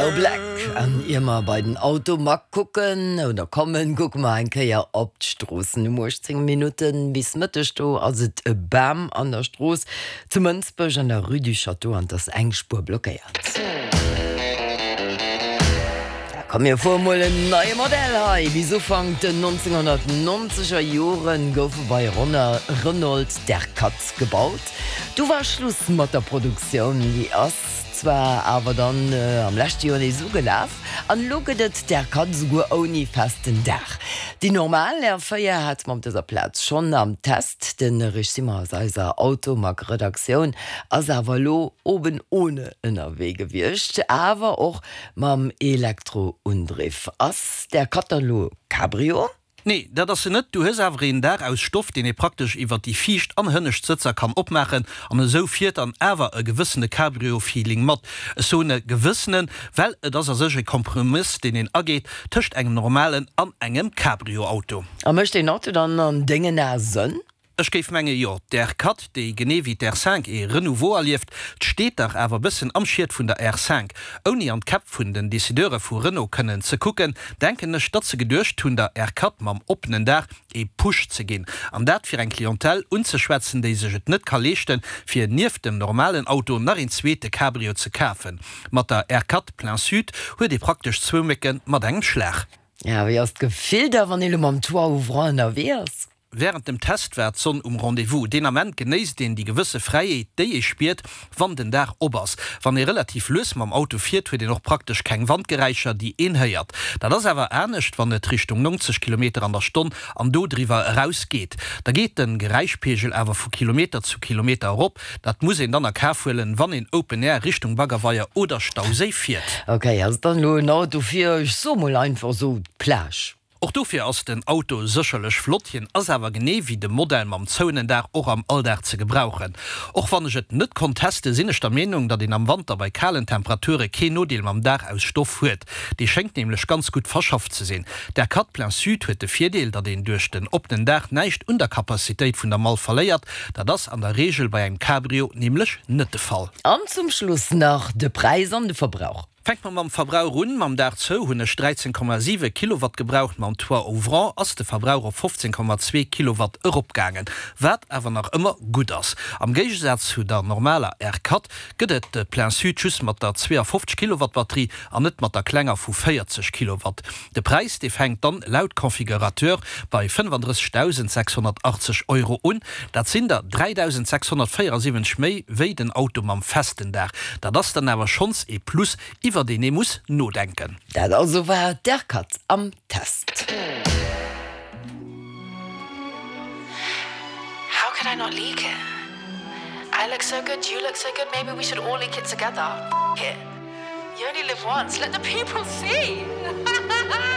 No Black. An ier mer bei den Automag kucken oder kommen, kucke mer eng Kéier op d'Stroossen. Um 18 Minutten bis Mëtteg do ass et e Bam an der Strooss zu Mënsbech an der Rue du Château an et ass eng Spuer blockéiert. Da komm mir fuere mol en neie Modell hei. Bis Ufank den 1990er Jore goufe bei Renault d'R4 gebaut. Du war Schluss mat der Produktioun. Déi ass zwar awer dann am leschte Joer nees ugelaf an elo gëtt et d'R4 esouguer ouni festen Daach. Déi normal R4 hate mer op dëser Plaz schonn am Test. De Rich Simmer aus eiser Automag-Redaktioun ass awer elo oben ohne ënnerwee gewiescht, awer och mam Elektroundriff. Ass d'R4 dann elo Cabrio? Nee, dat ass se net. Du hues awer een Daach aus Stoff, deen ee praktesch iwwert déi viischt an hënnescht Sëtzer kann opmaachen, an esou fiert dann awer e gewëssene Cabrio-Feeling mat. Ech soen e gewëssenen, well et ass a sech e Kompromiss, deen een ageet tëscht engem normalen an engem Cabrio-Auto. A mécht deen Auto dann an dengen Ae Sënn? Ech géif menge jo. D'R4, déi genee wéi d'R5 ee Renouveau erlieft, steet dach awer bëssen am Schiet vun der R5. Ouni an d'Käpp vun den Decideure vu Renault kënnen ze kucken, denken ech, datt se geduecht hunn, der R4 mam oppenen Daach ee Push ze ginn. An dat fir eng Clientèle unzeschwätzen, déi sech et net ka leeschten, fir nieft dem normalen Auto nach een zweete Cabrio ze kafen. Mat der R4 Plein Sud huet ee praktesch zwou Mécke mat engem Schlag. A wéi ass d'Gefill da, wann ee lo mam Toit ouvrant ënnerwee ass? Wärend dem Test war d'Sonn um Rendez-vous. Deen Ament genéisst een déi gewësse Fräiheet, déi ee spiert, wann den Daach op ass. Wann ee relativ lues mam Auto fiert, huet een och praktesch keng Wandgeräischer, déi een héiert. Dat ass awer anescht, wann et Richtung 90 Kilometer an der Stonn an do driwwer eraus geet. Da geet de Geräischpeegel awer vu Kilometer zu Kilometer erop. Dat muss een dann a Kaf huelen, wann een Open Air Richtung Baggerweier oder Stauséi fiert. Ok, ass et dann elo en Auto fir, ech soe mol einfach esou, d'Plage? Och dofir ass den Auto sécherlech flott, hien ass awer genee wéi de Modell mam zouenen Daach och am Alldag ze gebrauchen. Och wann ech et net konnt testen, sinn ech der Meenung, datt een am Wanter bei kalen Temperature keen Nodeel mam Daach aus Stoff huet. Dee schéngt nämlech ganz gutt verschafft ze sinn. D'R4 Plein Sud huet de Virdeel, datt een duerch den oppenen Daach näischt un der Capacitéit vun der Mall verléiert. Dat ass an der Reegel bei engem Cabrio nämlech net de Fall. An zum Schluss nach de Präis an de Verbrauch. Fänke mer mam Verbrauch un. Mam Daach zou hunn ech 13,7 Kilowatt gebraucht, mam Toit ouvrant ass de Verbrauch op 15,2 Kilowatt eropgaangen, wat awer nach ëmmer gutt ass. Am Géigesaz zu der normaler R4 gëtt et de Plein Sud just mat der 52 Kilowatt Batterie an net mat der klenger vu 40 Kilowatt. De Präis, dee fänkt dann laut Configurateur bei 35.680 Euro un. Dat sinn der 3.674 méi wéi den Auto mam festen Daach. Dat ass dann awer schonns ee Plus, iwwer deen ee muss nodenken. Dat also war d'R-Cut am Test. How could I not leak it? I look so good, you look so good, maybe we should all leak it together. F it. You only live once, let the people see!